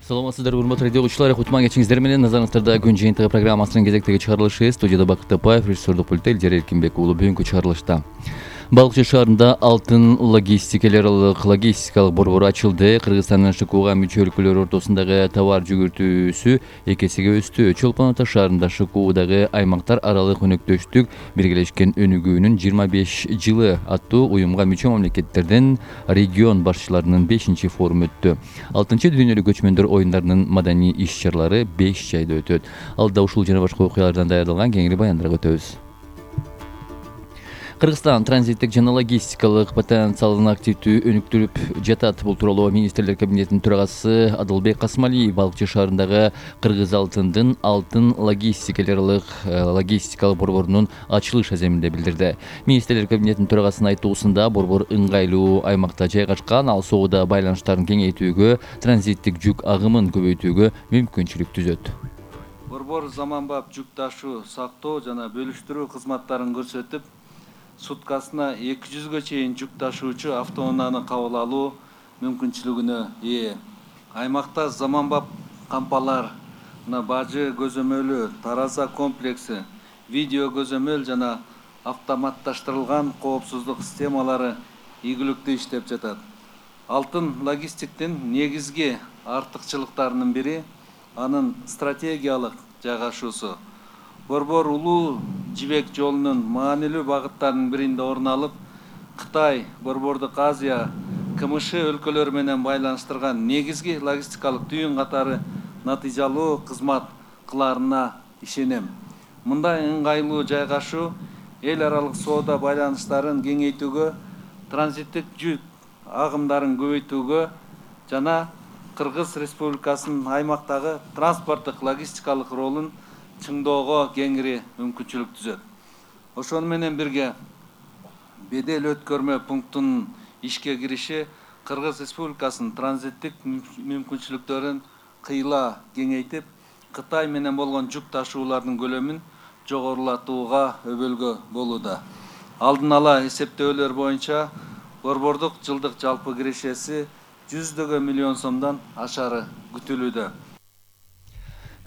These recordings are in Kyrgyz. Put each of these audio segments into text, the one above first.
Саламатсыздар, урматтуу радио угуучулар. Кутман кечиңиздер менен. Назарыңыздарда күн жыйынтыгы программасынын кезектеги чыгарылышы. Студияда Бакыт Тапаев, режиссердук пультта Элжер Эркинбек уулу. Бүгүнкү чыгарылышта Балыкчы шаарында алтын логистикалык борбору ачылды. Кыргызстандын ШКУга мүчө өлкөлөр ортосундагы товар жүгүртүүсү 2 эсеге өстү. Чолпон Ата шаарында ШКУдагы аймактар аралык өнөктөштүк биргелешкен өнүгүүнүн 25 жылы аттуу уюмга мүчө мамлекеттерден регион башчыларынын 5 форуму өттү. 6 дүйнөлүк көчмөндөр оюндарынын маданий иш-чаралары 5 жайда өтөт. Алда ушул жана башка окуялардан даярдалган кеңири баяндарга өтөбүз. Кыргызстан транзиттик жана логистикалык потенциалын активдүү өнүктүрүп жатат. Бул тууралуу министрлер кабинетинин төрагасы Адылбек Касмалиев Балыкчы шаарындагы Кыргыз алтындын алтын логистикалык борборунун ачылыш аземинде билдирди. Министрлер кабинетинин төрагасынын айтуусунда борбор ыңгайлуу аймакта жайгашкан, ал соода байланыштарын кеңейтүүгө, транзиттик жүк агымын көбөйтүүгө мүмкүнчүлүк түзөт. Борбор заманбап жүк ташуу, сактоо жана бөлүштүрүү кызматтарын көрсөтүп, суткасына 200га чейин жүк ташуучу автоунааны кабыл алуу мүмкүнчүлүгүнө ээ. Аймакта заманбап кампалар, бажы көзөмөлү, тараза комплекси, видео көзөмөл жана автоматташтырылган коопсуздук системалары ийгиликтүү иштеп жатат. Алтын логистиктин негизги артыкчылыктарынын бири анын стратегиялык жайгашуусу. Борбор улуу жибек жолунун маанилүү багыттарынын биринде орун алып, Кытай, Борбордук Азия, КМШ өлкөлөрү менен байланыштырган негизги логистикалык түйүн катары натыйжалуу кызмат кылаарына ишенем. Мындай ыңгайлуу жайгашуу эл аралык соода байланыштарын кеңейтүүгө, транзиттик жүк агымдарын көбөйтүүгө жана Кыргыз Республикасынын аймактагы транспорттук логистикалык ролун чыңдоого кеңири мүмкүнчүлүк түзөт. Ошону менен бирге бедел өткөрмө пунктунун ишке кириши Кыргыз Республикасынын транзиттик мүмкүнчүлүктөрүн кыйла кеңейтип, Кытай менен болгон жүк ташуулардын көлөмүн жогорулатууга өбөлгө болууда. Алдын ала эсептөөлөр боюнча борбордук жылдык жалпы кирешеси 100 миллион сомдон ашары күтүлүүдө.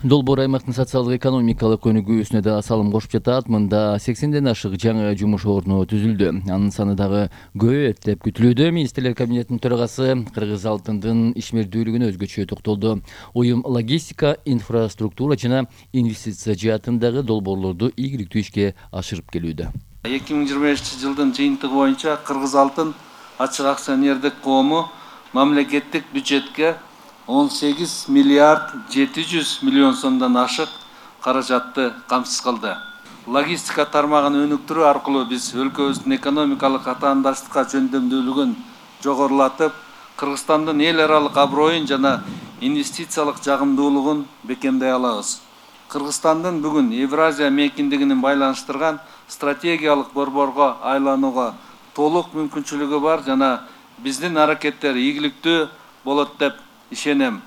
Долбоор аймактын социалдык экономикалык өнүгүүсүнө да салым кошуп жатат. Мында 80ден ашык жаңы жумуш орну түзүлдү. Анын саны дагы көбөйөт деп күтүлүүдө. Министрлер кабинетинин төрагасы Кыргыз алтындын ишмердүүлүгүнө өзгөчө токтолду. Уюм логистика, инфраструктура жана инвестиция жаатындагы долбоорлорду ийгиликтүү ишке ашырып келүүдө. 2025-жылдын жыйынтыгы боюнча Кыргыз алтын ачык акционердик коому мамлекеттик бюджетке 18 миллиард 700 миллион сомдон ашык каражатты камсыз кылды. Логистика тармагын өнүктүрүү аркылуу биз өлкөбүздүн экономикалык атаандаштыкка жөндөмдүүлүгүн жогорулатып, Кыргызстандын эл аралык аброюн жана инвестициялык жагымдуулугун бекемдей алабыз. Кыргызстандын бүгүн Евразия мейкиндигинин байланыштырган стратегиялык борборго айланууга толук мүмкүнчүлүгү бар жана биздин аракеттер ийгиликтүү болот деп ишенем.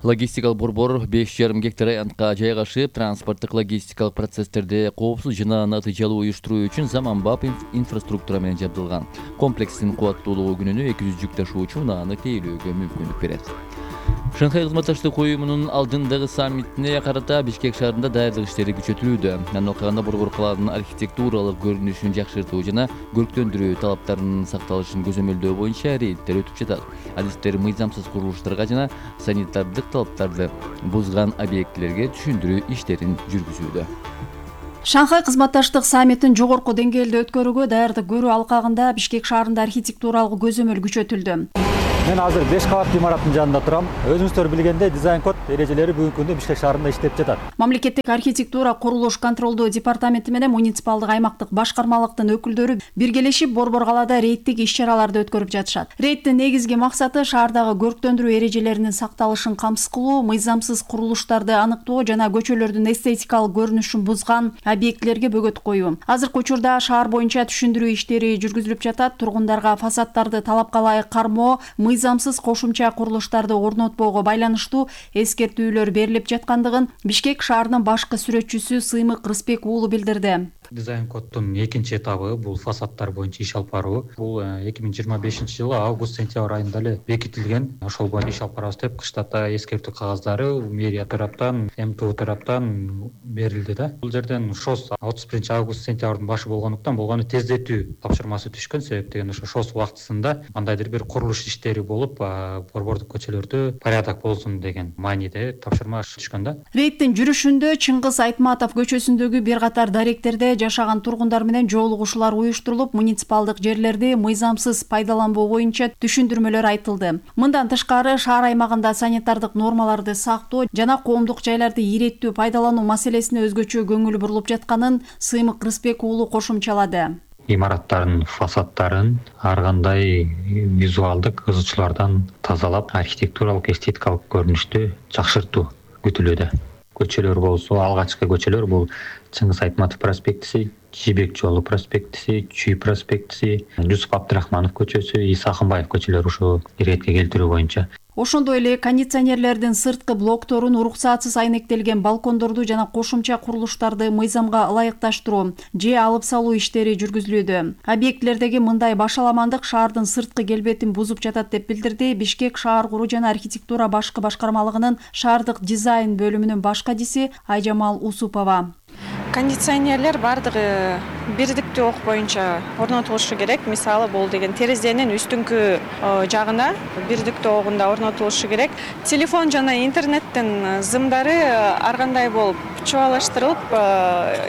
Логистикалык борбор 5,5 гектар аянтка жайгашып, транспорттук логистикалык процесстерди коопсуз жана натыйжалуу уюштуруу үчүн заманбап инфраструктура менен жабдылган. Комплекстин кубаттуулугу күнүнө 200 жүк ташуучу унааны тээйлөөгө мүмкүндүк берет. Шанхай кызматташтык уюмунун алдындагы саммитине карата Бишкек шаарында даярдык иштери күчөтүлүүдө. Анын алкагында борбор калаанын архитектуралык көрүнүшүн жакшыртуу жана көрктөндүрүү талаптарынын сакталышын көзөмөлдөө боюнча рейдтер өтүп жатат. Адистер мыйзамсыз курулуштарга жана санитардык талаптарды бузган объектилерге түшүндүрүү иштерин жүргүзүүдө. Шанхай кызматташтык саммитин жогорку деңгээлде өткөрүүгө даярдык көрүү алкагында Бишкек шаарында архитектуралык көзөмөл күчөтүлдү. Мен азыр 5 кабат имараттын жанында турам. Өзүңүздөр билгендей, дизайн код эрежелери бүгүнкү күндө Бишкек шаарында иштеп жатат. Мамлекеттик архитектура курулуш контролдоо департаменти менен муниципалдык аймактык башкармалыктын өкүлдөрү биргелешип борбор калаада рейдтик иш-чараларды өткөрүп жатышат. Рейдтин негизги максаты шаардагы көрктөндүрүү эрежелеринин сакталышын камсыз кылуу, мыйзамсыз курулуштарды аныктоо жана көчөлөрдүн эстетикалык көрүнүшүн бузган объектилерге бөгөт коюу. Азыркы учурда шаар боюнча түшүндүрүү иштери жүргүзүлүп жатат. Тургундарга фасаддарды талапка ылайык кармоо, мыйзамсыз кошумча курулуштарды орнотпоого байланыштуу эскертүүлөр берилип жаткандыгын Бишкек шаарынын башкы сүрөтчүсү Сыймык Рыспек уулу билдирди. Дизайн коддун экинчи этабы бул фасадтар боюнча иш алып баруу. Бул 2025-жылы август-сентябрь айында эле бекитилген. Ошол боюнча иш алып барабыз деп кыштата эскертүү кагаздары мэрия тараптан, МТУ тараптан берилди да. Бул жерден ШОС 31-август-сентябрдын башы болгондуктан болгону тездетүү тапшырмасы түшкөн. Себеп деген ошо ШОС убактысында кандайдыр бир курулуш иштери болуп, борбордук көчөлөрдө порядок болсун деген мааниде тапшырма түшкөн да. Рейдтин жүрүшүндө Чыңгыз Айтматов көчөсүндөгү бир катар даректерде жашаган тургундар менен жолугушуулар уюштурулуп, муниципалдык жерлерди мыйзамсыз пайдаланбоо боюнча түшүндүрмөлөр айтылды. Мындан тышкары шаар аймагында санитардык нормаларды сактоо жана коомдук жайларды ийреттүү пайдалануу маселесине өзгөчө көңүл бурулуп жатканын Сыймык Рыспек уулу кошумчалады. Имараттардын фасадтарын ар кандай визуалдык кызычуулардан тазалап, архитектуралык эстетикалык көрүнүштү жакшыртуу күтүлүүдө. Көчөлөр болсо, алгачкы көчөлөр бул Чыңгыз Айтматов проспектиси, Жибек жолу проспектиси, Чүй проспектиси, Жусуп Абдрахманов көчөсү, Иса Акынбаев көчөлөрү ушу иретке келтирүү боюнча. Ошондой эле кондиционерлердин сырткы блокторун, уруксатсыз айнектелген балкондорду жана кошумча курулуштарды мыйзамга ылайыкташтыруу же алып салуу иштери жүргүзүлүүдө. Объектилердеги мындай башаламандык шаардын сырткы келбетин бузуп жатат деп билдирди Бишкек шаар куруу жана архитектура башкы башкармалыгынын шаардык дизайн бөлүмүнүн баш кадиси Айжамал Усупова. Кондиционерлер бардыгы бирдиктүү ок боюнча орнотулушу керек. Мисалы бул деген терезенин үстүңкү жагына бирдиктүү огунда орнотулушу керек. Телефон жана интернеттин зымдары ар кандай болуп чубалаштырылып,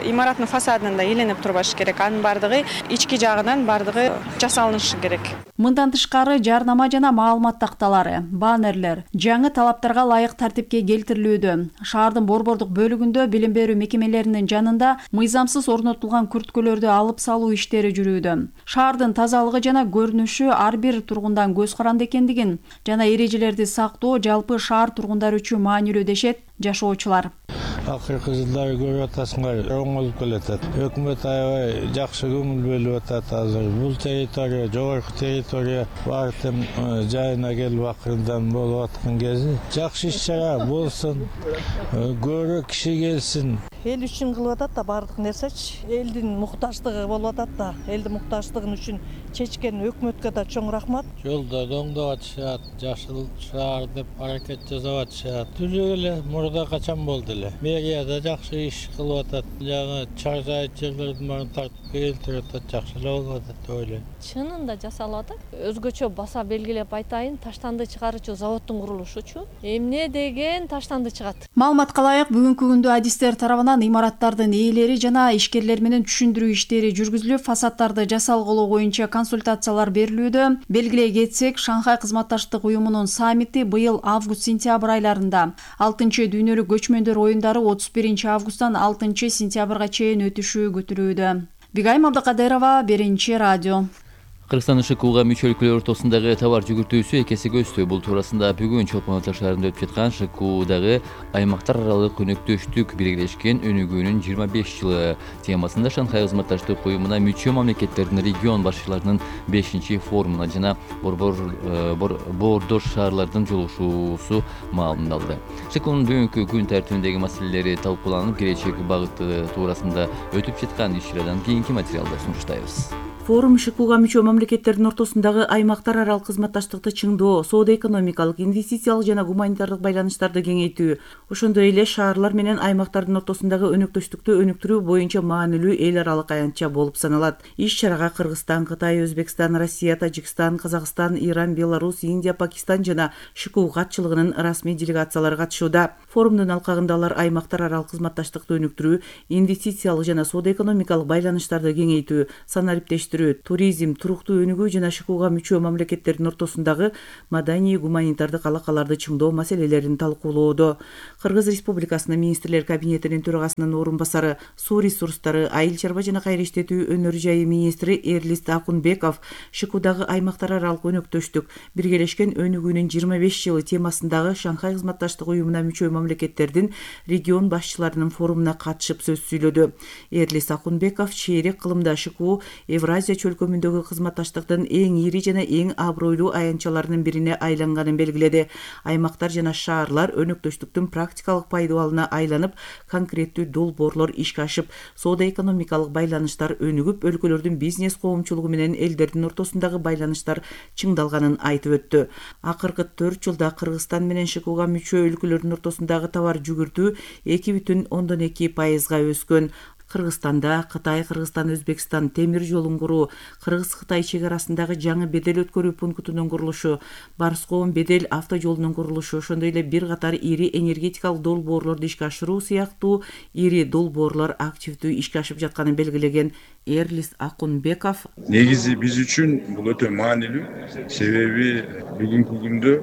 имараттын фасадында иленип турбашы керек. Анын бардыгы ички жагынан бардыгы жасалынышы керек. Мындан тышкары жарнама жана маалымат такталары, баннерлер жаңы талаптарга ылайык тартипке келтирилүүдө. Шаардын борбордук бөлүгүндө билим берүү мекемелеринин жанында мыйзамсыз орнотулган күрткөлөрдү алып салуу иштери жүрүүдө. Шаардын тазалыгы жана көрүнүшү ар бир тургундан көз каранды экендигин жана эрежелерди сактоо жалпы шаар тургундары үчүн маанилүү дешет жашоочулар. Акыркы жылдары көрүп атасыңар, оңолуп келатат. Өкмөт аябай жакшы көңүл бөлүп атат азыр. Бул территория, жогорку территория баардык жайына келип акырындан болуп аткан кези. Жакшы иш-чара болсун, көрө киши келсин. Эл үчүн кылып атат да баардык нерсечи. Элдин муктаждыгы болуп атат да. Элдин муктаждыгын үчүн чечкен өкмөткө да чоң рахмат. Жолдо оңдоп атышат, жашыл шаар деп аракет жасап атышат. Түзүп эле мурда качан болду эле. Мэрияда жакшы иш кылып атат. Жаңы чаржайыт жерлердин баарын тартып келтирип атат, жакшы эле болуп атат деп ойлойм. Чынында жасалып атат. Өзгөчө баса белгилеп айтайын, таштанды чыгарычу заводдун курулушучу. Эмне деген таштанды чыгат. Маалыматка ылайык бүгүнкү күндө адистер тарабынан имараттардын ээлери жана ишкерлер менен түшүндүрүү иштери жүргүзүлүп, фасадтарды жасалгылоо боюнча консультациялар берилүүдө. Белгилей кетсек, Шанхай кызматташтык уюмунун саммити быйыл август-сентябрь айларында, 6-дүйнөлүк көчмөндөр оюндары 31-августтан 6-сентябрга чейин өтүшү күтүлүүдө. Бигайым Абдыкадырова, Биринчи радио. Кыргызстан ШКУга мүчө өлкөлөр ортосундагы товар жүгүртүүсү экесиге өстү. Бул туурасында бүгүн Чолпон Ата шаарында өтүп жаткан ШКУдагы аймактар аралык өнөктөштүк биргелешкен өнүгүүнүн 25 жылы темасында Шанхай кызматташтык уюмуна мүчө мамлекеттердин регион башчыларынын 5-форумуна жана боордош шаарлардын жолугушуусу маалымдалды. ШКУнун бүгүнкү күн тартибиндеги маселелери талкууланып, келечек багыты туурасында өтүп жаткан иш-чарадан кийинки материалды сунуштайбыз. Форум ШКУга мүчө мамлекеттердин ортосундагы аймактар аралык кызматташтыкты чыңдоо, соода-экономикалык, инвестициялык жана гуманитардык байланыштарды кеңейтүү, ошондой эле шаарлар менен аймактардын ортосундагы өнөктөштүктү өнүктүрүү боюнча маанилүү эл аралык аянтча болуп саналат. Иш-чарага Кыргызстан, Кытай, Өзбекстан, Россия, Тажикстан, Казакстан, Иран, Беларусь, Индия, Пакистан жана ШКУ катчылыгынын расмий делегациялары катышууда. Форумдун алкагында алар аймактар аралык кызматташтыкты өнүктүрүү, инвестициялык жана соода-экономикалык байланыштарды кеңейтүү, санариптештирүү, туризм, туруктуу өнүгүү жана ШКУга мүчө мамлекеттердин ортосундагы маданий гуманитардык алакаларды чыңдоо маселелерин талкуулоодо. Кыргыз Республикасынын министрлер кабинетинин төрагасынын орун басары, суу ресурстары, айыл чарба жана кайра иштетүү өнөр жайы министри Эрлис Акунбеков ШКУдагы аймактар аралык өнөктөштүк биргелешкен өнүгүүнүн 25 жылы темасындагы Шанхай кызматташтык уюмуна мүчө мамлекеттердин регион башчыларынын форумуна катышып сөз сүйлөдү. Эрлис Акунбеков чейрек кылымда ШКУ Евразия чөлкөмүндөгү кызматташтык кызматташтыктын эң ири жана эң абройлуу аянтчаларынын бирине айланганын белгиледи. Аймактар жана шаарлар өнөктөштүктүн практикалык пайдаланууна айланып, конкреттүү долбоорлор ишке ашып, соода-экономикалык байланыштар өнүгүп, өлкөлөрдүн бизнес коомчулугу менен элдердин ортосундагы байланыштар чыңдалганын айтып өттү. Акыркы 4 жылда Кыргызстан менен ШКУга мүчө өлкөлөрдүн ортосундагы товар жүгүртүү 2,2%га өскөн. Кыргызстанда Кытай, Кыргызстан, Өзбекстан темир жолун куруу, Кыргыз-Кытай чек арасындагы жаңы бедел өткөрүү пунктунун курулушу, Барскоон бедел автожолунун курулушу, ошондой эле бир катар ири энергетикалык долбоорлорду ишке ашыруу сыяктуу ири долбоорлор активдүү ишке ашып жатканын белгилеген Эрлис Акунбеков. Негизи биз үчүн бул өтө маанилүү, себеби бүгүнкү күндө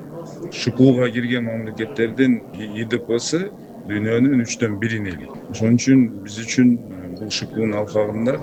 ШКУга кирген мамлекеттердин ИДПсы дүйнөнүн 1/3 эли. Ошон үчүн биз үчүн бул ШКУнун алкагында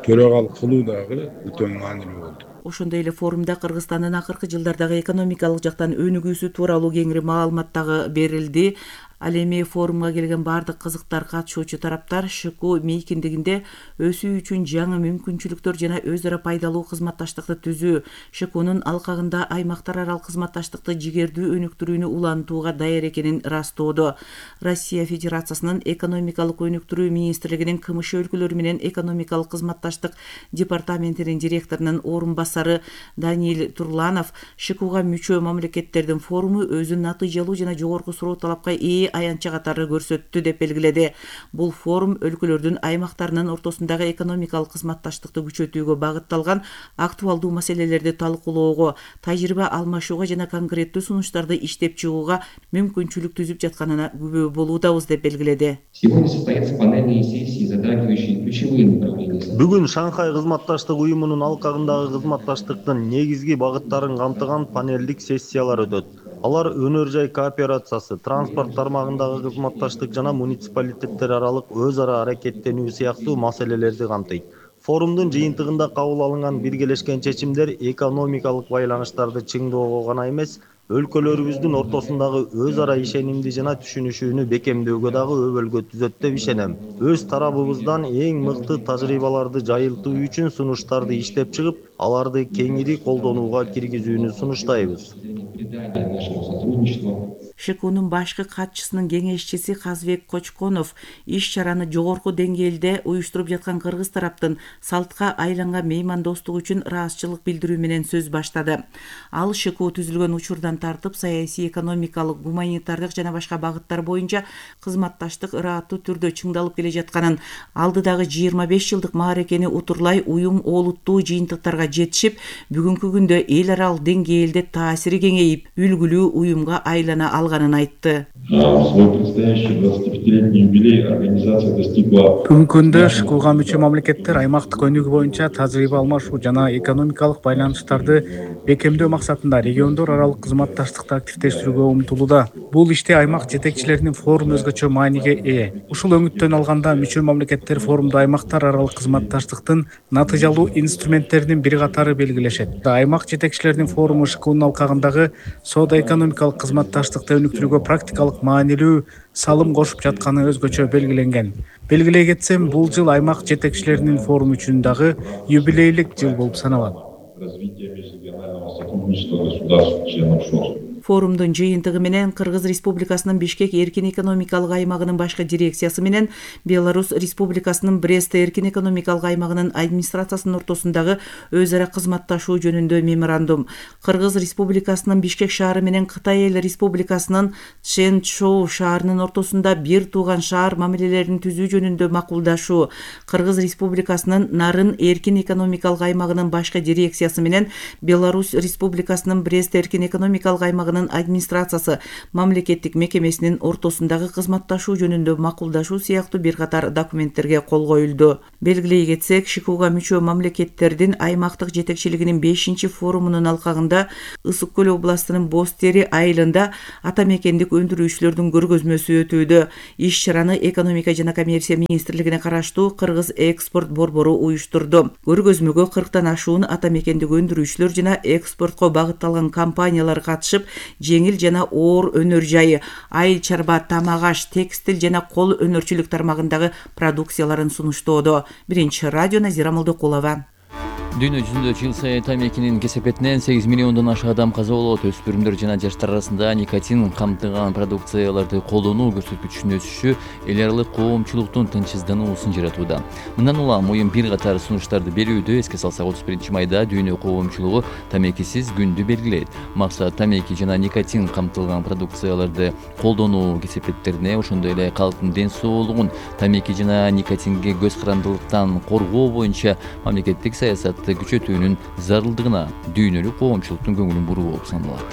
төрагалык кылуу дагы өтө маанилүү болду. Ошондой эле форумда Кыргызстандын акыркы жылдардагы экономикалык жактан өнүгүүсү тууралуу кеңири маалымат дагы берилди. Ал эми форумга келген бардык кызыктар катышуучу тараптар ШКУ мейкиндигинде өсүү үчүн жаңы мүмкүнчүлүктөр жана өз ара пайдалуу кызматташтыкты түзүү, ШКУнун алкагында аймактар аралык кызматташтыкты жигердүү өнүктүрүүнү улантууга даяр экенин ырастоодо. Россия Федерациясынын экономикалык өнүктүрүү министрлигинин КМШ өлкөлөрү менен экономикалык кызматташтык департаментинин директорунун орун басары Даниил Турланов ШКУга мүчө мамлекеттердин форуму өзүн натыйжалуу жана жогорку суроо талапка ээ аянтча катары көрсөттү деп белгиледи. Бул форум өлкөлөрдүн аймактарынын ортосундагы экономикалык кызматташтыкты күчөтүүгө багытталган актуалдуу маселелерди талкуулоого, тажрыйба алмашууга жана конкреттүү сунуштарды иштеп чыгууга мүмкүнчүлүк түзүп жатканына күбө болуудабыз деп белгиледи. Бүгүн Шанхай кызматташтык уюмунун алкагындагы кызматташтыктын негизги багыттарын камтыган панелдик сессиялар өтөт. Алар өнөр жай кооперациясы, транспорт тармагындагы кызматташтык жана муниципалитеттер аралык өз ара аракеттенүү сыяктуу маселелерди камтыйт. Форумдун жыйынтыгында кабыл алынган биргелешкен чечимдер экономикалык байланыштарды чыңдоого гана эмес, өлкөлөрүбүздүн ортосундагы өз ара ишенимди жана түшүнүшүүнү бекемдөөгө дагы өбөлгө түзөт деп ишенем. Өз тарабыбыздан эң мыкты тажрыйбаларды жайылтуу үчүн сунуштарды иштеп чыгып, аларды кеңири колдонууга киргизүүнү сунуштайбыз. ШКУнун башкы катчысынын кеңешчиси Казбек Кочконов иш-чараны жогорку деңгээлде уюштуруп жаткан кыргыз тараптын салтка айланган меймандостук үчүн ыраазычылык билдирүү менен сөз баштады. Ал ШКУ түзүлгөн учурдан тартып саясий, экономикалык, гуманитардык жана башка багыттар боюнча кызматташтык ырааттуу түрдө чыңдалып келе жатканын, алдыдагы 25 жылдык мааракени утурлай уюм олуттуу жыйынтыктарга жетишип, бүгүнкү күндө эл аралык деңгээлде таасири кеңейип, үлгүлүү уюмга айлана алганын айтты. Бүгүнкү күндө ШКУга мүчө мамлекеттер аймактык өнүгүү боюнча тажрыйба алмашуу жана экономикалык байланыштарды бекемдөө максатында региондор аралык кызматташтыкты активдештирүүгө умтулууда. Бул иште аймак жетекчилеринин форуму өзгөчө мааниге ээ. Ушул өңүттөн алганда мүчө мамлекеттер форумда аймактар аралык кызматташтыктын натыйжалуу инструменттеринин бир катары белгилешет. Аймак жетекчилеринин форуму ШКУнун алкагындагы соода-экономикалык кызматташтыкты өнүктүрүүгө практикалык маанилүү салым кошуп жатканы өзгөчө белгиленген. Белгилей кетсем, бул жыл аймак жетекчилеринин форуму үчүн дагы юбилейлик жыл болуп саналат. Форумдун жыйынтыгы менен Кыргыз Республикасынын Бишкек эркин экономикалык аймагынын башкы дирекциясы менен Беларусь Республикасынын Брест эркин экономикалык аймагынын администрациясынын ортосундагы өз ара кызматташуу жөнүндө меморандум, Кыргыз Республикасынын Бишкек шаары менен Кытай Эл Республикасынын Чжэнчжоу шаарынын ортосунда бир тууган шаар мамилелерин түзүү жөнүндө макулдашуу, Кыргыз Республикасынын Нарын эркин экономикалык аймагынын башкы дирекциясы менен Беларусь Республикасынын Брест эркин экономикалык аймагынын администрациясы мамлекеттик мекемесинин ортосундагы кызматташуу жөнүндө макулдашуу сыяктуу бир катар документтерге кол коюлду. Белгилей кетсек, ШКУга мүчө мамлекеттердин аймактык жетекчилигинин 5-чи форумунун алкагында Ысык Көл областынын Боз Тери айылында ата мекендик өндүрүүчүлөрдүн көргөзмөсү өтүүдө. Иш-чараны экономика жана коммерция министрлигине караштуу Кыргыз экспорт борбору уюштурду. Көргөзмөгө 40тан ашуун ата мекендик өндүрүүчүлөр жана экспортко багытталган компаниялар катышып, жеңил жана оор өнөр жайы, айыл чарба, тамак аш, текстил жана кол өнөрчүлүк тармагындагы продукцияларын сунуштоодо. Биринчи радио Назира Молдокулова. Дүйнө жүзүндө жыл сайын тамекинин кесепетинен 8 миллиондон ашык адам каза болот. Өспүрүмдөр жана жаштар арасында никотин камтыган продукцияларды колдонуу көрсөткүчүнүн өсүшү эл аралык коомчулуктун тынчсыздануусун жаратууда. Мындан улам уюм бир катар сунуштарды берүүдө. Эске салсак, 31 майда дүйнө коомчулугу тамекисиз күндү белгилейт. Максат тамеки жана никотин камтылган продукцияларды колдонуу кесепеттерине, ошондой эле калктын ден соолугун тамеки жана никотинге көз карандылыктан коргоо боюнча мамлекеттик саясатты күчөтүүнүн зарылдыгына дүйнөлүк коомчулуктун көңүлүн буруу болуп саналат.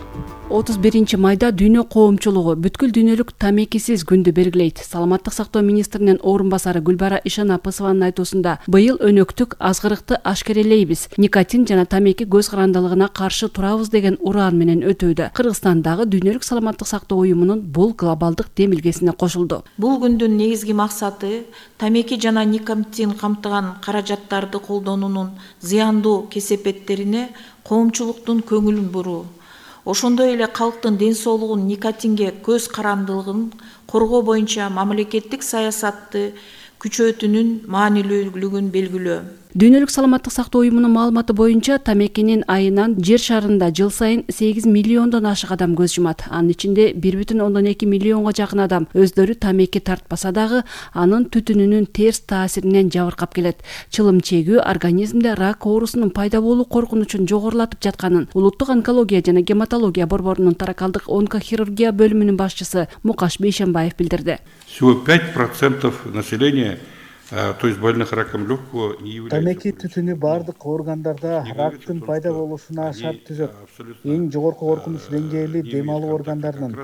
31 майда дүйнө коомчулугу бүткүл дүйнөлүк тамекисиз күндү белгилейт. Саламаттык сактоо министринин орун басары Гүлбара Ишанапысованын айтуусунда, быйыл өнөктүк азгырыкты ашкерелейбиз. Никотин жана тамеки көз карандылыгына каршы турабыз деген ураан менен өтүүдө. Кыргызстандагы дүйнөлүк саламаттык сактоо уюмунун бул глобалдык демилгесине кошулду. Бул күндүн негизги максаты тамеки жана никотин камтыган каражаттарды колдонуунун зыяндуу кесепеттерине коомчулуктун көңүлүн буруу. Ошондой эле калктын ден соолугун, никотинге көз карандылыгын коргоо боюнча мамлекеттик саясатты күчөтүүнүн маанилүүлүгүн белгилөө. Дүйнөлүк саламаттык сактоо уюмунун маалыматы боюнча тамекинин айынан жер шарында жыл сайын 8 миллиондон ашык адам көз жумат. Анын ичинде 1,2 миллионго жакын адам өздөрү тамеки тартпаса дагы анын түтүнүнүн терс таасиринен жабыркап келет. Чылым чегүү организмде рак оорусунун пайда болуу коркунучун жогорулатып жатканын Улуттук онкология жана гематология борборунун таракалдык онкохирургия бөлүмүнүн башчысы Мукаш Бейшенбаев билдирди. Всего 5% населения, то есть больных раком легкого, не является. Тамеки түтүнү бардык органдарда рактын пайда болушуна шарт түзөт. Эң жогорку коркунуч деңгээли дем алуу органдарынын,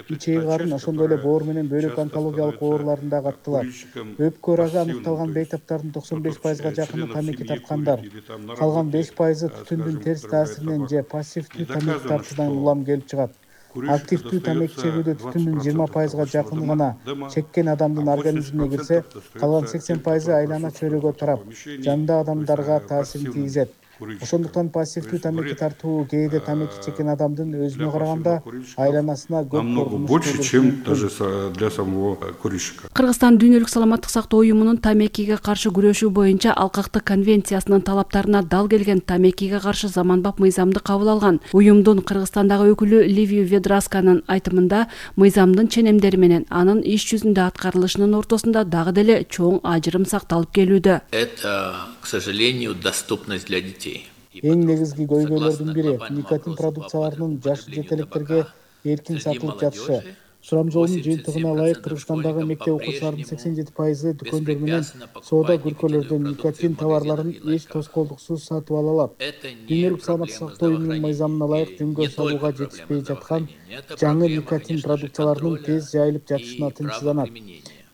ичеги карын, ошондой эле боор менен бөйрөк онкологиялык ооруларында каттылар. Өпкө рагы аныкталган бейтаптардын 95%га жакыны тамеки тарткандар. Калган 5% түтүндүн терс таасиринен же пассивдүү тамеки тартуудан улам келип чыгат. Активдүү тамеки чегүүдө түтүндүн 20%га жакыны гана чеккен адамдын организмине кирсе, калган 80% айлана чөйрөгө тарап, жандагы адамдарга таасирин тийгизет. Ошондуктан пассивдүү тамеки тартуу кээде тамеки чеккен адамдын өзүнө караганда айланасына көп намного больше, чем даже для самого курильщика. Кыргызстан дүйнөлүк саламаттык сактоо уюмунун тамекиге каршы күрөшүү боюнча Алкактык конвенциясынын талаптарына дал келген тамекиге каршы заманбап мыйзамды кабыл алган. Уюмдун Кыргызстандагы өкүлү Ливия Ведрасканын айтымында, мыйзамдын ченемдери менен анын иш жүзүндө аткарылышынын ортосунда дагы деле чоң ажырым сакталып келүүдө. Это, к сожалению, доступность для детей. Эң негизги көйгөйлөрдүн бири никотин продукцияларынын жаш жетелектерге эркин сатылып жатышы. Сурамжоонун жыйынтыгына ылайык Кыргызстандагы мектеп окуучуларынын 87% дүкөндөр менен соода күркөлөрдөн никотин товарларын эч тоскоолдуксуз сатып ала алат. Дүйнөлүк саламаттык сактоо уюмунун мыйзамына ылайык жөнгө салууга жетишпей жаткан жаңы никотин продукцияларынын тез жайылып жатышына тынчсызданат.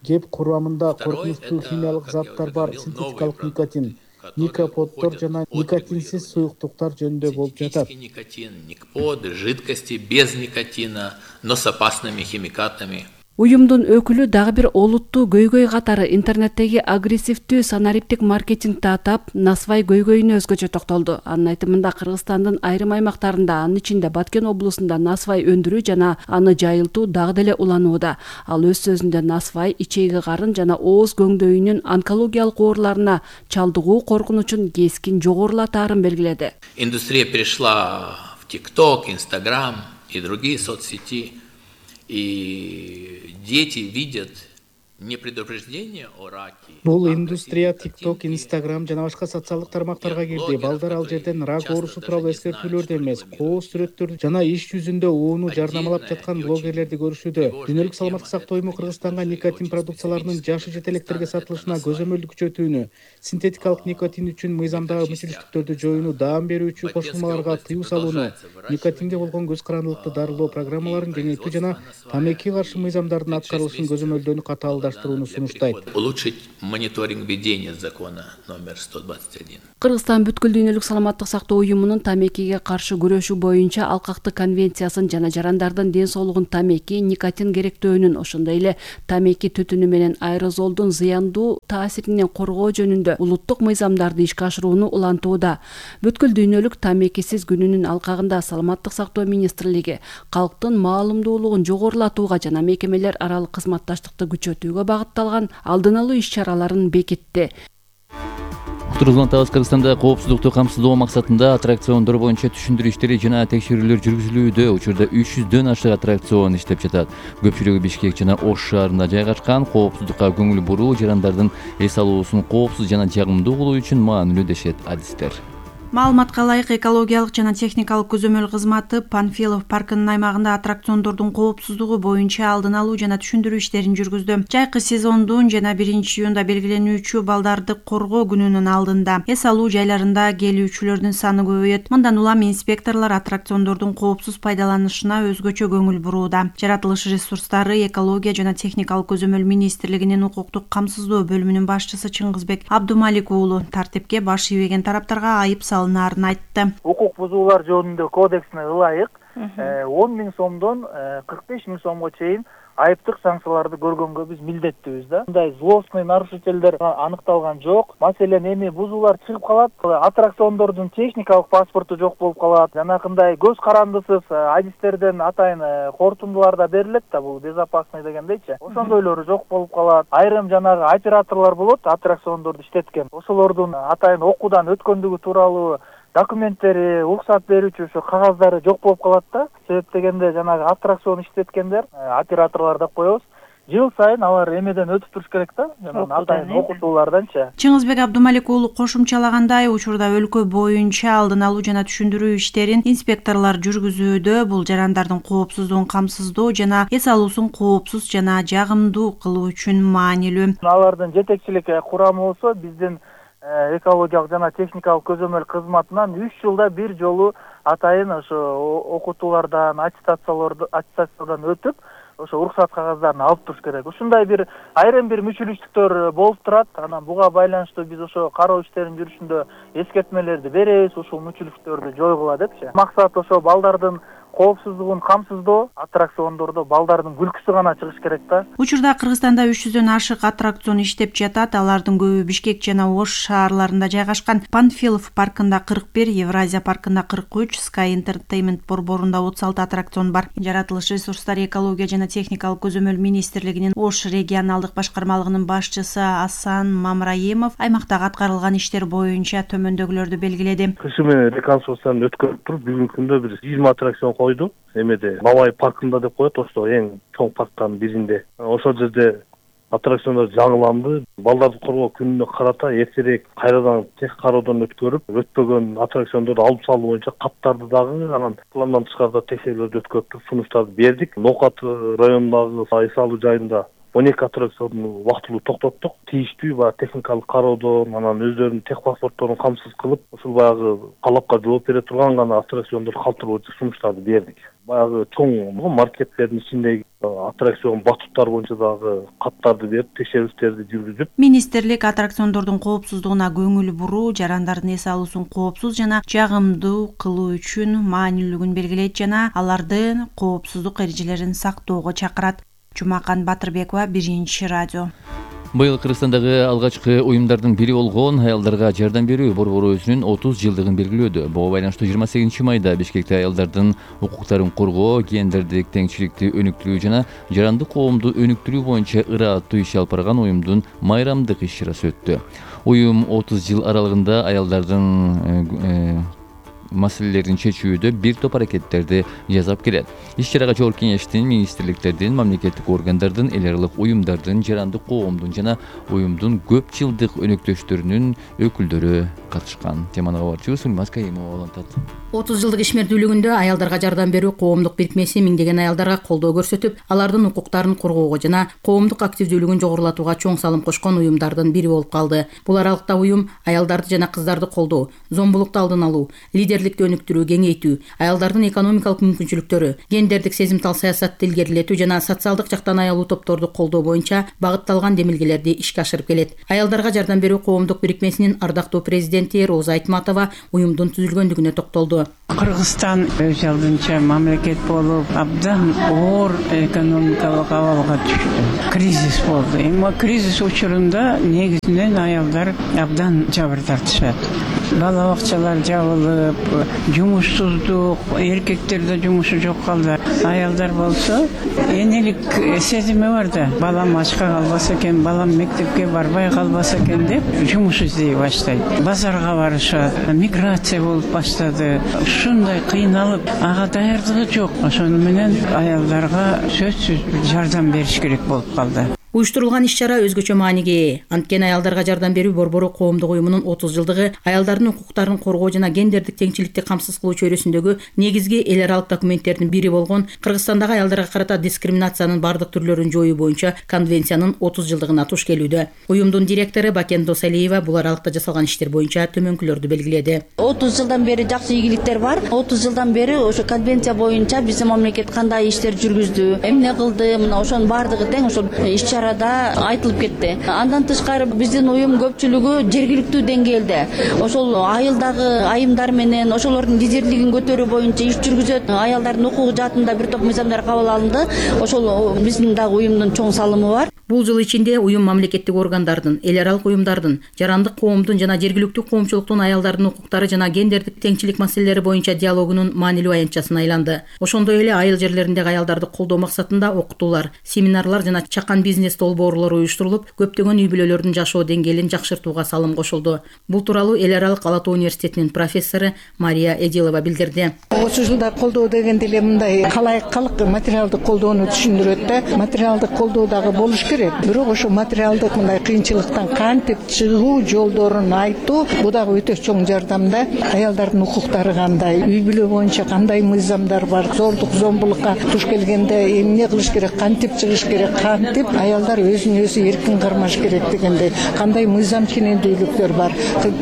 Кеп курамында коркунучтуу химиялык заттар бар синтетикалык никотин, никоподдор жана никотинсиз суюктуктар жөнүндө болуп жатат. Никотин, никподы, жидкости без никотина, но с опасными химикатами. Уюмдун өкүлү дагы бир олуттуу көйгөй катары интернеттеги агрессивдүү санариптик маркетингди атап, насвай көйгөйүнө өзгөчө токтолду. Анын айтымында Кыргызстандын айрым аймактарында, анын ичинде Баткен облусунда насвай өндүрүү жана аны жайылтуу дагы деле уланууда. Ал өз сөзүндө насвай ичеги карын жана ооз көңдөйүнүн онкологиялык ооруларына чалдыгуу коркунучун кескин жогорулатаарын белгиледи. Индустрия перешла в TikTok, Instagram и другие соцсети. И дети видят не предупреждение о раке. Бул индустрия TikTok, Instagram жана башка социалдык тармактарга кирди. Балдар ал жерден рак оорусу тууралуу эскертүүлөрдү эмес, кооз сүрөттөрдү жана иш жүзүндө ууну жарнамалап жаткан блогерлерди көрүшүүдө. Дүйнөлүк саламаттык сактоо уюму Кыргызстанга никотин продукцияларынын жашы жетелектерге сатылышына көзөмөлдү күчөтүүнү, синтетикалык никотин үчүн мыйзамдагы мүчүлүштүктөрдү жоюуну, даам берүүчү кошулмаларга тыюу салууну, никотинге болгон көз карандылыкты дарылоо программаларын кеңейтүү жана тамекиге каршы мыйзамдардын аткарылышын көзөмөлдөөнү катаалдаштырууну сунуштайт. Улучшить мониторинг ведения закона номер 121. Кыргызстан бүткүл дүйнөлүк саламаттык сактоо уюмунун тамекиге каршы күрөшүү боюнча Алкактык конвенциясын жана жарандардын ден соолугун тамеки, никотин керектөөнүн, ошондой эле тамеки түтүнү менен аэрозолдун зыяндуу таасиринен коргоо жөнүндө улуттук мыйзамдарды ишке ашырууну улантууда. Бүткүл дүйнөлүк тамекисиз күнүнүн алкагында Саламаттык сактоо министрлиги калктын маалымдуулугун жогорулатууга жана мекемелер аралык кызматташтыкты күчөтүүгө багытталган алдын алуу иш-чараларын бекитти. Тургузулантабыз. Кыргызстанда коопсуздукту камсыздоо максатында аттракциондор боюнча түшүндүрүү иштери жана текшерүүлөр жүргүзүлүүдө. Учурда 300дөн ашык аттракцион иштеп жатат. Көпчүлүгү Бишкек жана Ош шаарында жайгашкан. Коопсуздукка көңүл буруу, жарандардын эс алуусун коопсуз жана жагымдуу кылуу үчүн маанилүү дешет адистер. Маалыматка ылайык экологиялык жана техникалык көзөмөл кызматы Панфилов паркынын аймагында аттракциондордун коопсуздугу боюнча алдын алуу жана түшүндүрүү иштерин жүргүздү. Жайкы сезондун жана 1-июнда белгиленүүчү балдарды коргоо күнүнүн алдында эс алуу жайларында келүүчүлөрдүн саны көбөйөт. Мындан улам инспекторлор аттракциондордун коопсуз пайдаланышына өзгөчө көңүл бурууда. Жаратылыш ресурстары, экология жана техникалык көзөмөл министрлигинин укуктук камсыздоо бөлүмүнүн башчысы Чыңгызбек Абдумалик уулу тартипке баш ийбеген тараптарга айып салынаарын айтты. Укук бузуулар жөнүндө кодексине ылайык 10 000 сомдон 45 000 сомго чейин айыптык санкцияларды көргөнгө биз милдеттүүбүз да. Мындай злостный нарушителдер аныкталган жок. Маселен, эми бузуулар чыгып калат, аттракциондордун техникалык паспорту жок болуп калат. Жанакындай көз карандысыз адистерден атайын кортундулар да берилет да, бул безопасный дегендейчи. Ошондойлору жок болуп калат. Айрым жанагы операторлор болот, аттракциондорду иштеткен. Ошолордун атайын окуудан өткөндүгү тууралуу документтери, уруксат берүүчү ошо кагаздары жок болуп калат да. Себеп дегенде жанагы аттракцион иштеткендер, операторлор деп коебуз. Жыл сайын алар эмеден өтүп туруш керек да, жанагы атайын окутууларданчы. Чыңгызбек Абдумалик уулу кошумчалагандай, учурда өлкө боюнча алдын алуу жана түшүндүрүү иштерин инспекторлор жүргүзүүдө. Бул жарандардын коопсуздугун камсыздоо жана эс алуусун коопсуз жана жагымдуу кылуу үчүн маанилүү. Алардын жетекчилик курамы болсо биздин экологиялык жана техникалык көзөмөл кызматынан 3 жылда бир жолу атайын ошо окутуулардан, аттестациядан өтүп, ошо уруксат кагаздарын алып туруш керек. Ушундай бир айрым бир мүчүлүштүктөр болуп турат. Анан буга байланыштуу биз ошо кароо иштерин жүрүшүндө эскертмелерди беребиз, ушул мүчүлүштүктөрдү жойгула депчи. Максат ошо балдардын коопсуздугун камсыздоо, аттракциондордо балдардын күлкүсү гана чыгыш керек да. Учурда Кыргызстанда 300дөн ашык аттракцион иштеп жатат. Алардын көбү Бишкек жана Ош шаарларында жайгашкан. Панфилов паркында 41, Евразия паркында 43, Sky Entertainment борборунда 36 аттракцион бар. Жаратылыш ресурстары, экология жана техникалык көзөмөл министрлигинин Ош регионалдык башкармалыгынын башчысы Асан Мамраимов аймактагы аткарылган иштер боюнча төмөндөгүлөрдү белгиледи. Кышы менен реконструкцияны өткөрүп туруп, бүгүнкү күндө бир 20 аттракцион койду. Эмеде Бабай паркында деп коет, ошо эң чоң парктардын биринде. Ошол жерде аттракциондор жаңыланды. Балдарды коргоо күнүнө карата эртерээк кайрадан тех кароодон өткөрүп, өтпөгөн аттракциондорду алып салуу боюнча каттарды дагы анан пландан тышкарыда текшерүүлөрдү өткөрүп сунуштарды бердик. Нокат районундагы эс алуу жайында 12 аттракционду убактылуу токтоттук. Тийиштүү баягы техникалык кароодон, анан өздөрүнүн тех паспортторун камсыз кылып, ушул баягы талапка жооп бере турган гана аттракциондорду калтыруу сунуштарды бердик. Баягы чоң маркеттердин ичиндеги аттракцион батуттар боюнча дагы каттарды берип, текшерүүлөрдү жүргүзүп. Министрлик аттракциондордун коопсуздугуна көңүл буруу, жарандардын эс алуусун коопсуз жана жагымдуу кылуу үчүн маанилүүлүгүн белгилейт жана алардын коопсуздук эрежелерин сактоого чакырат. Жумакан Батырбекова, 1 радио. Быйыл Кыргызстандагы алгачкы уюмдардын бири болгон аялдарга жардам берүү борбору өзүнүн 30 жылдыгын белгилөөдө. Буга байланыштуу 28 майда Бишкекте аялдардын укуктарын коргоо, гендердик теңчиликти өнүктүрүү жана жарандык коомду өнүктүрүү боюнча ырааттуу иш алып барган уюмдун майрамдык иш-чарасы өттү. Уюм 30 жыл аралыгында аялдардын маселелерин чечүүдө бир топ аракеттерди жасап келет. Иш-чарага жогорку кеңештин, министрликтердин, мамлекеттик органдардын, эл аралык уюмдардын, жарандык коомдун жана уюмдун көп жылдык өнөктөштөрүнүн өкүлдөрү катышкан. Теманы кабарчыбыз Сулмаз Кайымова улантат. 30 жылдык ишмердүүлүгүндө аялдарга жардам берүү коомдук бирикмеси миңдеген аялдарга колдоо көрсөтүп, алардын укуктарын коргоого жана коомдук активдүүлүгүн жогорулатууга чоң салым кошкон уюмдардын бири болуп калды. Бул аралыкта уюм аялдарды жана кыздарды колдоо, зомбулукту алдын алуу, лидерликти өнүктүрүү, кеңейтүү, аялдардын экономикалык мүмкүнчүлүктөрү, гендердик сезимтал саясатты илгерилетүү жана социалдык жактан аялуу топторду колдоо боюнча багытталган демилгелерди ишке ашырып келет. Аялдарга жардам берүү коомдук бирикмесинин ардактуу президенти Роза Айтматова уюмдун түзүлгөндүгүнө токтолду. Кыргызстан өз алдынча мамлекет болуп, абдан оор экономикалык абалга түштү. Кризис болду. Эми кризис учурунда негизинен аялдар абдан жабыр тартышат. Бала бакчалар жабылып, жумушсуздук, эркектерде жумушу жок калды. Аялдар болсо энелик сезими бар да. Балам ачка калбаса экен, балам мектепке барбай калбаса экен деп жумуш издей баштайт. Базарга барышат, миграция болуп баштады. Ушундай кыйналып, ага даярдыгы жок. Ошону менен аялдарга сөзсүз жардам бериш керек болуп калды. Уюштурулган иш-чара өзгөчө мааниге ээ. Анткени аялдарга жардам берүү борбору коомдук уюмунун 30 жылдыгы аялдардын укуктарын коргоо жана гендердик теңчиликти камсыз кылуу чөйрөсүндөгү негизги эл аралык документтердин бири болгон Кыргызстандагы аялдарга карата дискриминациянын бардык түрлөрүн жоюу боюнча конвенциянын 30 жылдыгына туш келүүдө. Уюмдун директору Бакен Досалиева бул аралыкта жасалган иштер боюнча төмөнкүлөрдү белгиледи. 30 жылдан бери жакшы ийгиликтер бар. 30 жылдан бери ошо конвенция боюнча биздин мамлекет кандай иштер жүргүздү, эмне кылды, мына ошонун бардыгы тең ошол иш-чарада айтылып кетти. Андан тышкары биздин уюм көпчүлүгү жергиликтүү деңгээлде ошол айылдагы айымдар менен ошолордун лидерлигин көтөрүү боюнча иш жүргүзөт. Аялдардын укугу жаатында бир топ мыйзамдар кабыл алынды. Ошол биздин дагы уюмдун чоң салымы бар. Бул жыл ичинде уюм мамлекеттик органдардын, эл аралык уюмдардын, жарандык коомдун жана жергиликтүү коомчулуктун аялдардын укуктары жана гендердик теңчилик маселелери боюнча диалогунун маанилүү аянтчасына айланды. Ошондой эле айыл жерлериндеги аялдарды колдоо максатында окутуулар, семинарлар жана чакан бизнес долбоорлор уюштурулуп, көптөгөн үй бүлөлөрдүн жашоо деңгээлин жакшыртууга салым кошулду. Бул тууралуу эл аралык Ала Тоо университетинин профессору Мария Эдилова билдирди. Ошол жылда колдоо дегенде эле мындай калайыккалык материалдык колдоону түшүндүрөт да. Материалдык колдоо дагы болуш керек. Бирок ошо материалдык мындай кыйынчылыктан кантип чыгуу жолдорун айтуу бул дагы өтө чоң жардамда. Аялдардын укуктары кандай, үй бүлө боюнча кандай мыйзамдар бар, зордук зомбулукка туш келгенде эмне кылыш керек, кантип чыгыш керек, кантип аялдар өзүн өзү эркин кармаш керек дегендей кандай мыйзам ченемдүүлүктөр бар,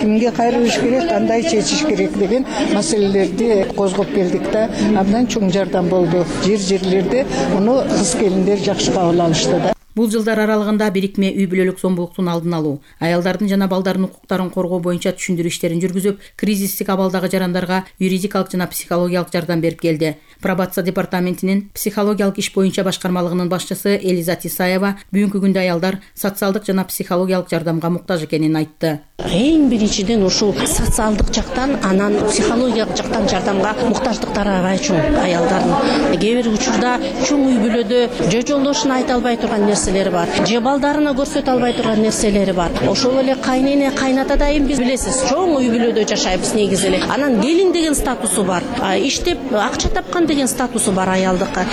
кимге кайрылыш керек, кандай чечиш керек деген маселелерди козгоп келдик да. Абдан чоң жардам болду. Жерлерде муну кыз келиндер жакшы кабыл алышты да. Бул жылдар аралыгында бирикме үй бүлөлүк зомбулуктун алдын алуу, аялдардын жана балдардын укуктарын коргоо боюнча түшүндүрүү иштерин жүргүзүп, кризистик абалдагы жарандарга юридикалык жана психологиялык жардам берип келди. Пробация департаментинин психологиялык иш боюнча башкармалыгынын башчысы Элиза Исаева бүгүнкү күндө аялдар социалдык жана психологиялык жардамга муктаж экенин айтты. Эң биринчиден ушул социалдык жактан, анан психологиялык жактан жардамга муктаждыктары аябай чоң аялдардын. Кээ бир учурда чоң үй бүлөдө жолдошуна айта албай турган нерселери бар, же балдарына көрсөтө албай турган нерселери бар. Ошол эле кайнене, кайната дайым биз билесиз, чоң үй бүлөдө жашайбыз негизи эле. Анан келин деген статусу бар, иштеп акча тапкан деген статусу бар аялдыкка.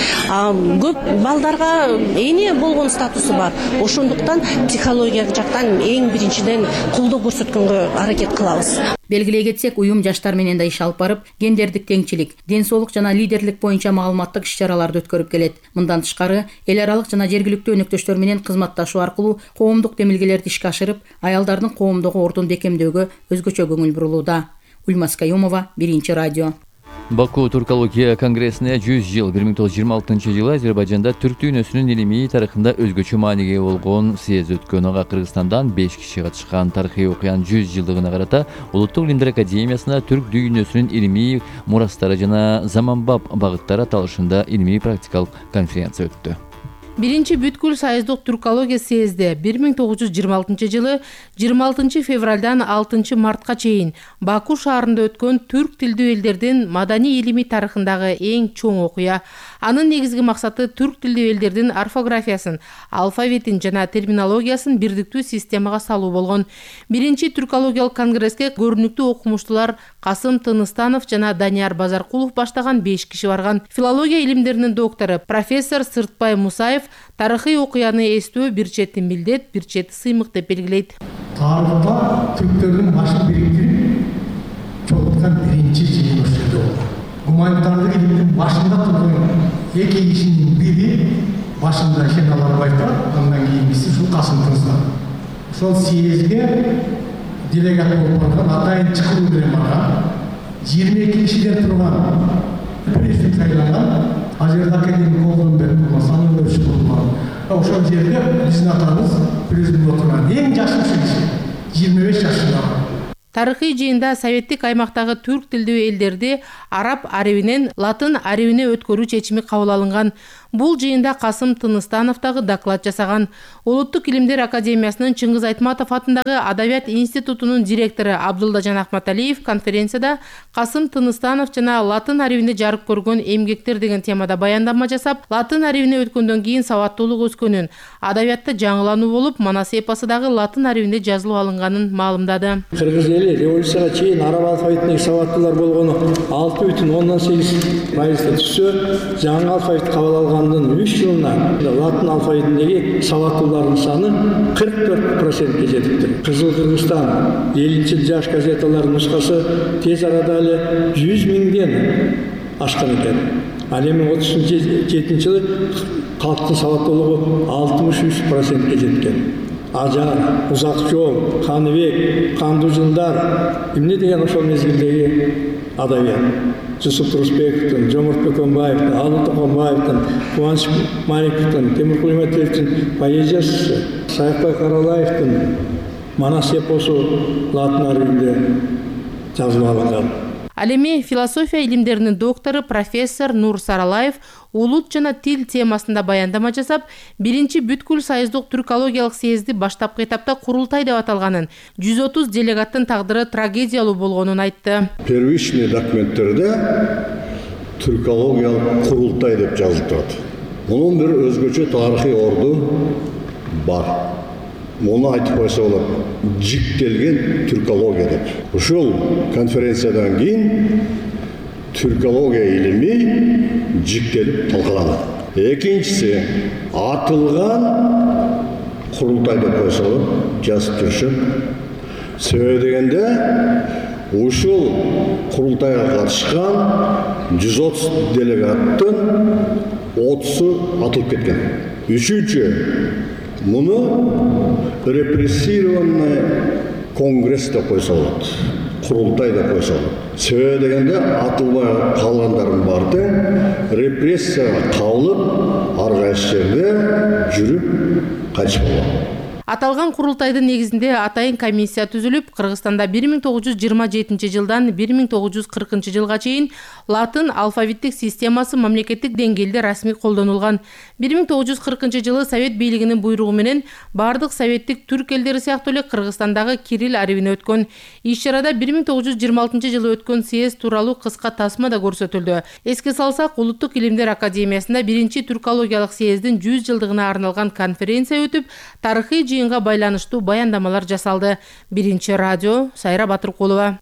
Көп балдарга эне болгон статусу бар. Ошондуктан психологиялык жактан эң биринчиден колдоо көрсөткөнгө аракет кылабыз. Белгилей кетсек, уюм жаштар менен да иш алып барып, гендердик теңчилик, ден соолук жана лидерлик боюнча маалыматтык иш-чараларды өткөрүп келет. Мындан тышкары, эл аралык жана жергиликтүү өнөктөштөр менен кызматташуу аркылуу коомдук демилгелерди ишке ашырып, аялдардын коомдогу ордун бекемдөөгө өзгөчө көңүл бурулууда. Ульмас Каюмова, Биринчи радио. Баку Туркология конгрессине 100 жыл 1926 жылы Азербайжанда түрк дүйнөсүнүн илимий тарыхында өзгөчө мааниге болгон съезд өткөн. Ага Кыргызстандан 5 киши катышкан. Тарыхый окуянын 100 жылдыгына карата Улуттук илимдер академиясына түрк дүйнөсүнүн илимий мурастары жана заманбап багыттары аталышында илимий практикалык конференция өттү. Биринчи бүткүл союздук туркология съезди 1926 жылы 26 февралдан 6 мартка чейин Баку шаарында өткөн түрк тилдүү элдердин маданий илимий тарыхындагы эң чоң окуя. Анын негизги максаты түрк тилдүү элдердин орфографиясын, алфавитин жана терминологиясын бирдиктүү системага салуу болгон. Биринчи туркологиялык конгресске көрүнүктүү окумуштуулар Касым Тыныстанов жана Данияр Базаркулов баштаган 5 киши барган. Филология илимдеринин доктору профессор Сыртбай Мусаев тарыхый окуяны эстөө бир чети милдет, бир чети сыймык деп белгилейт. Тарыхта түрктөрдүн башын бириктирип чогулткан биринчи жыйын ошол жерде болгон. Гуманитардык илимдин башында турган эки кишинин бири башында Шеналарбаев турат, андан кийинкиси ушул Касым Тыныстанов. Ошол съездге делегат болуп барган, атайын чакыруу менен барган 22 кишиден турган президент сайланган. Азербайжан академик Колдонбек болмаса, анын өрүшү болгон. Ошол жерде биздин атабыз президент отурган эң жаш киши 25 жашында. Тарыхый жыйында советтик аймактагы түрк тилдүү элдерди араб арабинен латын арабине өткөрүү чечими кабыл алынган. Бул жыйында Касым Тыныстанов дагы доклад жасаган. Улуттук илимдер академиясынын Чыңгыз Айтматов атындагы Адабият институтунун директору Абдулдажан Ахматалиев конференцияда Касым Тыныстанов жана латын арибинде жарык көргөн эмгектер деген темада баяндама жасап, латын арибине өткөндөн кийин сабаттуулук өскөнүн, адабиятта жаңылануу болуп, Манас эпосу дагы латын арибинде жазылып алынганын маалымдады. Кыргыз эли революцияга чейин араб алфавитиндеги сабаттуулар болгону 6,8% түшсө, жаңы алфавит кабыл алгандын 3 жылына латын алфавитиндеги сабаттуулардын саны 44%ке жетиптир. Кызыл Кыргызстан 50 жаш газеталарынын нускасы тез арада эле 100 миңден ашкан экен. Ал эми 37 жылы калктын сабаттуулугу 63%ке жеткен. Ажар, Узак жол, Каныбек, Кандуу жылдар эмне деген ошол мезгилдеги адабият. Жусуп Турусбековдун, Жоморт Бөкөнбаевдин, Алы Токонбаевдин, Кубаныч Маликовдун, Темиркул Иметовдун поэзиясы, Саякбай Каралаевдин Манас эпосу латын арибинде жазылып алынган. Ал эми философия илимдеринин доктору профессор Нур Саралаев улут жана тил темасында баяндама жасап, биринчи бүткүл союздук түркологиялык съезди баштапкы этапта курултай деп аталганын, 130 делегаттын тагдыры трагедиялуу болгонун айтты. Первичный документтерде түркологиялык курултай деп жазылып турат. Мунун бир өзгөчө тарыхый орду бар. Муну айтып койсо болот. Жиктелген түркология деп. Ушул конференциядан кийин түркология илими жиктелип талкаланат. Экинчиси атылган курултай деп койсо болот, жазып жүрүшөм. Себеби дегенде ушул курултайга катышкан 130 делегаттын 30-у атылып кеткен. Үчүнчү, муну репрессированный конгресс деп койсо болот, курултай деп койсо болот. Себеби дегенде атылбай калгандардын баары репрессияга кабылып, ар кайсы жерде жүрүп кайтыш болгон. Аталган курултайдын негизинде атайын комиссия түзүлүп, Кыргызстанда 1927 жылдан 1940 жылга чейин латын алфавиттик системасы мамлекеттик деңгээлде расмий колдонулган. 1940 жылы Совет бийлигинин буйругу менен бардык советтик түрк элдери сыяктуу эле Кыргызстандагы кирилл арибине өткөн. Иш-чарада 1926 жылы өткөн съезд тууралуу кыска тасма да көрсөтүлдү. Эске салсак, Улуттук илимдер академиясында биринчи түркологиялык съездин 100 жылдыгына арналган конференция өтүп, тарыхый жыйынга байланыштуу баяндамалар жасалды. Биринчи радио, Сайра Батыркулова.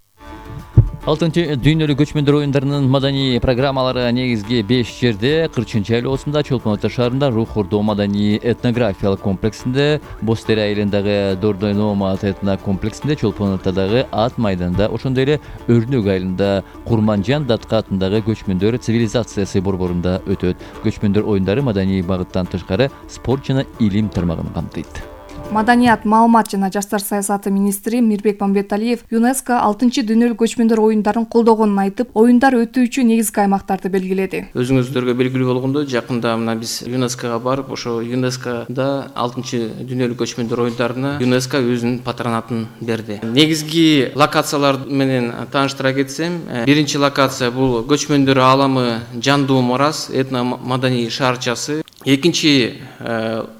6-чы дүйнөлүк көчмөндөр оюндарынын маданий программалары негизги 5 жерде 40-чы айлоосунда Чолпон Ата шаарында Рух Ордо маданий этнографиялык комплексинде, Бостери айылындагы Дордой Номад этно комплексинде, Чолпон Атадагы Ат майданында, ошондой эле Өрнөк айылында Курманжан Датка атындагы көчмөндөр цивилизациясы борборунда өтөт. Көчмөндөр оюндары маданий багыттан тышкары спорт жана илим тармагын камтыйт. Маданият, маалымат жана жаштар саясаты министри Мирбек Мамбеталиев ЮНЕСКО 6-чы дүйнөлүк көчмөндөр оюндарын колдогонун айтып, оюндар өтүүчү негизги аймактарды белгиледи. Өзүңүздөргө белгилүү болгондой, жакында мына биз ЮНЕСКОга барып, ошо ЮНЕСКОда 6-чы дүйнөлүк көчмөндөр оюндарына ЮНЕСКО өзүнүн патронатын берди. Негизги локациялар менен тааныштыра кетсем, биринчи локация бул көчмөндөр ааламы Жандуу Морас этно-маданий шаарчасы. Экинчи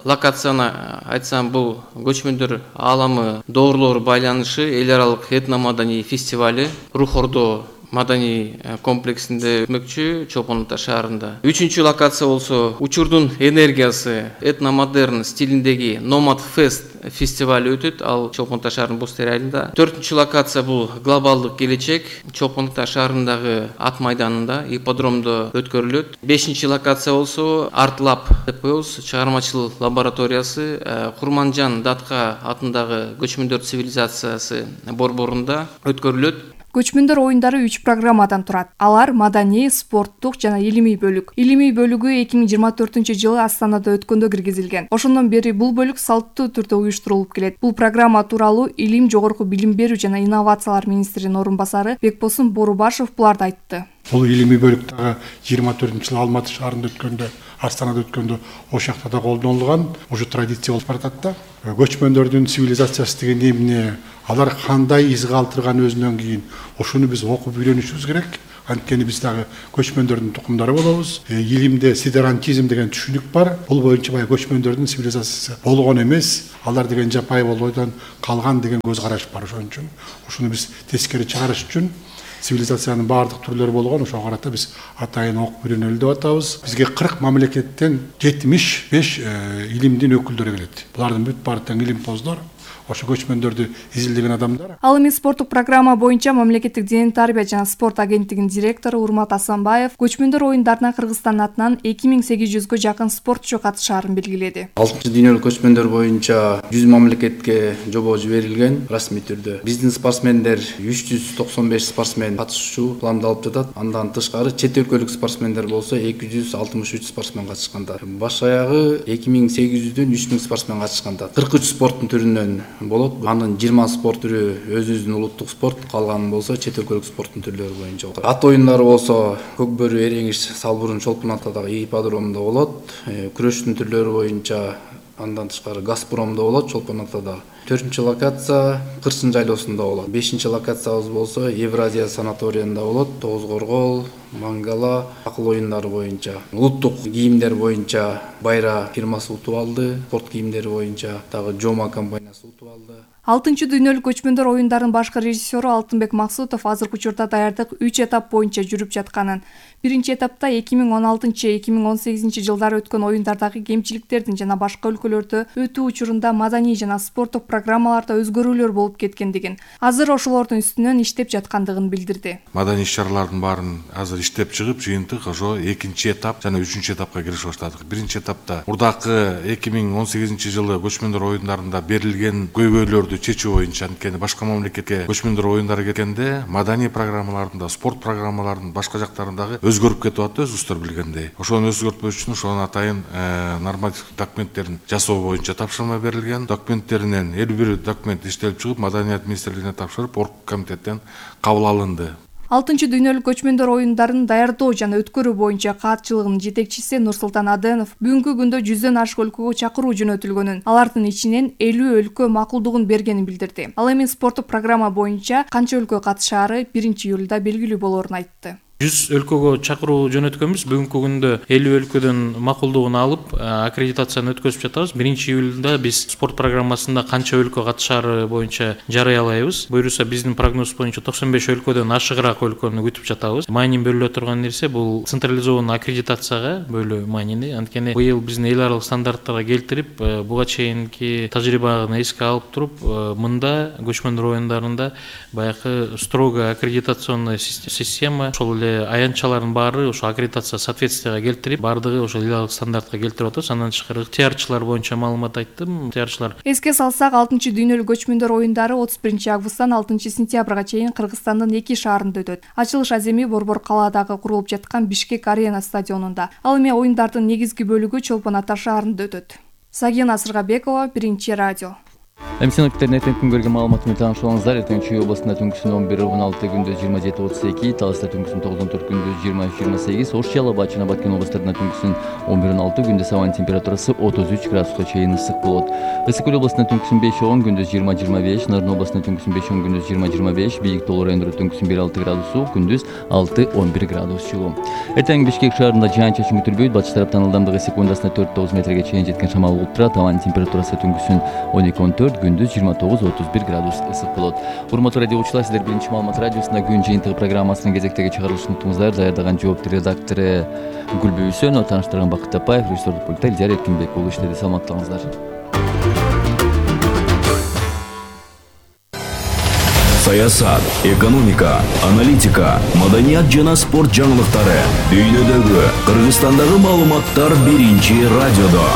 локацияны айтсам, бул көчмөндөр ааламы доорлор байланышы эл аралык этно-маданий фестивали Рух Ордо маданий комплексинде өтмөкчү Чолпон Ата шаарында. Үчүнчү локация болсо учурдун энергиясы этномодерн стилиндеги Номад Фест фестивали өтөт, ал Чолпон Ата шаарынын Бостери айылында. Төртүнчү локация бул глобалдык келечек Чолпон Ата шаарындагы Ат майданында, ипподромдо өткөрүлөт. Бешинчи локация болсо Арт Лаб деп коебуз, чыгармачыл лабораториясы Курманжан Датка атындагы көчмөндөр цивилизациясы борборунда өткөрүлөт. Көчмөндөр оюндары 3 программадан турат. Алар маданий, спорттук жана илимий бөлүк. Илимий бөлүгү 2024-жылы Астанада өткөндө киргизилген. Ошондон бери бул бөлүк салттуу түрдө уюштурулуп келет. Бул программа тууралуу Илим, жогорку билим берүү жана инновациялар министринин орун басары Бекбосун Борубашев буларды айтты. Бул илимий бөлүк дагы 24-жылы Алматы шаарында өткөндө, Астанада өткөндө ошакта да колдонулган. Уже традиция болуп баратат да. Көчмөндөрдүн цивилизациясы деген эмне, алар кандай из калтырган өзүнөн кийин ошону биз окуп үйрөнүшүбүз керек. Анткени биз дагы көчмөндөрдүн тукумдары болобуз. Илимде сидерантизм деген түшүнүк бар. Бул боюнча баягы көчмөндөрдүн цивилизациясы болгон эмес, алар деген жапайы болойдон калган деген көз караш бар. Ошон үчүн ушуну биз тескери чыгарыш үчүн цивилизациянын баардык түрлөрү болгон, ошого карата биз атайын окуп үйрөнөлү деп атабыз. Бизге 40 мамлекеттен 75 илимдин өкүлдөрү келет. Булардын бүт баары тең илимпоздор. Ошо көчмөндөрдү изилдеген адамдар. Ал эми спорттук программа боюнча мамлекеттик дене тарбия жана спорт агенттигинин директору Урмат Асанбаев көчмөндөр оюндарына Кыргызстан атынан 2800гө жакын спортчу катышаарын белгиледи. 6-дүйнөлүк көчмөндөр боюнча 100 мамлекетке жобо жиберилген расмий түрдө. Биздин спортсмендер 395 спортсмен катышуу пландалып жатат. Андан тышкары чет өлкөлүк спортсмендер болсо 263 спортсмен катышканда. Баш аягы 2800дөн 3000 спортсмен катышканда. 43 спорттун түрүнөн болот. Анын 20 спорт түрү өзүбүздүн улуттук спорт, калганы болсо чет өлкөлүк спорттун түрлөрү боюнча. Ат оюндары болсо көкбөрү, эреңиш, салбурун, чолпон атадагы ипподромдо болот. Күрөштүн түрлөрү боюнча андан тышкары Газпромдо болот, чолпон атада. 4-чү локация Кырсын жайлоосунда болот. 5-чи локациябыз болсо Евразия санаториянда болот. Тоозгоргол, Мангала акыл оюндары боюнча. Улуттук кийимдер боюнча Байра фирмасы утуп алды. Спорт кийимдери боюнча дагы Жома компаниясы утуп алды. 6-дүйнөлүк көчмөндөр оюндарынын башкы режиссеру Алтынбек Максутов азыркы учурда даярдык 3 этап боюнча жүрүп жатканын, биринчи этапта 2016-2018 жылдары өткөн оюндардагы кемчиликтердин жана башка өлкөлөрдө өтүү учурунда маданий жана спорттук программаларда өзгөрүүлөр болуп кеткендигин, азыр ошолордун үстүнөн иштеп жаткандыгын билдирди. Маданий иш-чаралардын баарын азыр иштеп чыгып, жыйынтык ошо 2-чи этап жана 3-чү этапка киришип баштадык. Биринчи этапта мурдакы 2018 жылы көчмөндөр оюндарында берилген көйгөйлөрдү чечүү боюнча, анткени башка мамлекетке көчмөндөр оюндары кеткенде маданий программаларында, спорт программаларынын башка жактарындагы өзгөрүп кетип атты, өзүңүздөр билгендей. Ошону өзгөртпөш үчүн ошонун атайын нормативдик документтерин жасоо боюнча тапшырма берилген. Документтеринен 51 документ иштелип чыгып, Маданият министрлигине тапшырып, оргкомитеттен кабыл алынды. 6-дүйнөлүк көчмөндөр оюндарын даярдоо жана өткөрүү боюнча каатчылыгынын жетекчиси Нурсултан Аденов бүгүнкү күндө 100дөн ашык өлкөгө чакыруу жөнөтүлгөнүн, алардын ичинен 50 өлкө макулдугун бергенин билдирди. Ал эми спорттук программа боюнча канча өлкө катышаары 1-июлда белгилүү болоорун айтты. 100 өлкөгө чакыруу жөнөткөнбүз. Бүгүнкү күндө 50 өлкөдөн макулдугун алып, аккредитацияны өткөзүп жатабыз. 1-июлда биз спорт программасында канча өлкө катышаары боюнча жарыялайбыз. Буюрса биздин прогноз боюнча 95 өлкөдөн ашыгыраак өлкөнү күтүп жатабыз. Маанин бөлүнө турган нерсе бул централизованный аккредитацияга бөлүү маанини. Анткени быйыл биздин эл аралык стандарттарга келтирип, буга чейинки тажрыйбаны эске алып туруп, мында көчмөндөр оюндарында баягы строго аккредитационный система, ошол эле аянтчалардын баары ошо аккредитация соответствияга келтирип, баардыгы ошо эл аралык стандарттка келтирип атабыз. Андан тышкары ыктыярчылар боюнча маалымат айттым. Ыктыярчылар. Эске салсак, 6-дүйнөлүк көчмөндөр оюндары 31 августтан 6 сентябрга чейин Кыргызстандын 2 шаарында өтөт. Ачылыш аземи Борбор калаадагы курулуп жаткан Бишкек арена стадионунда. Ал эми оюндардын негизги бөлүгү Чолпон Ата шаарында өтөт. Сагина Сыргабекова, Биринчи радио. Синоптиктердин эртең күнгөргөн маалыматы менен таанышып эртең Чүй областында түнкүсүн 11-16, күндүз 27-32, Таласта түнкүсүн 9-14, күндүз 23-28, Ош, Жалал жана Баткен областарында түнкүсүн 11-16, күндүз абанын температурасы 33 градуска чейин ысык болот. Ысык көл областында түнкүсүн 5-10, күндүз 20-25, Нарын областында түнкүсүн 5-10, күндүз 20-25, Бийик Тоолор райондору түнкүсүн 1-6 градус, күндүз 6-11 градус жылуу. Эртең Бишкек шаарында жаан-чачын күтүлбөйт. Батыш тараптан ылдамдыгы секундасына 4-9 метрге чейин жеткен шамал болуп турат. Абанын температурасы түнкүсүн 12-14, күндүз 29-31 градус ысык болот. Урматтуу радио угуучулар, сиздер Биринчи маалымат радиосунда күн жыйынтыгы программасынын кезектеги чыгарылышын уктуңуздар. Даярдаган жооптуу редактору Гүлбү Үсөнова, тааныштырган Бакыт Тапаев, режиссердик пультта Элдияр Эркинбек уулу иштеди. Саламатта болуңуздар. Саясат, экономика, аналитика, маданият жана спорт жаңылыктары, дүйнөдөгү, Кыргызстандагы маалыматтар Биринчи радиодо.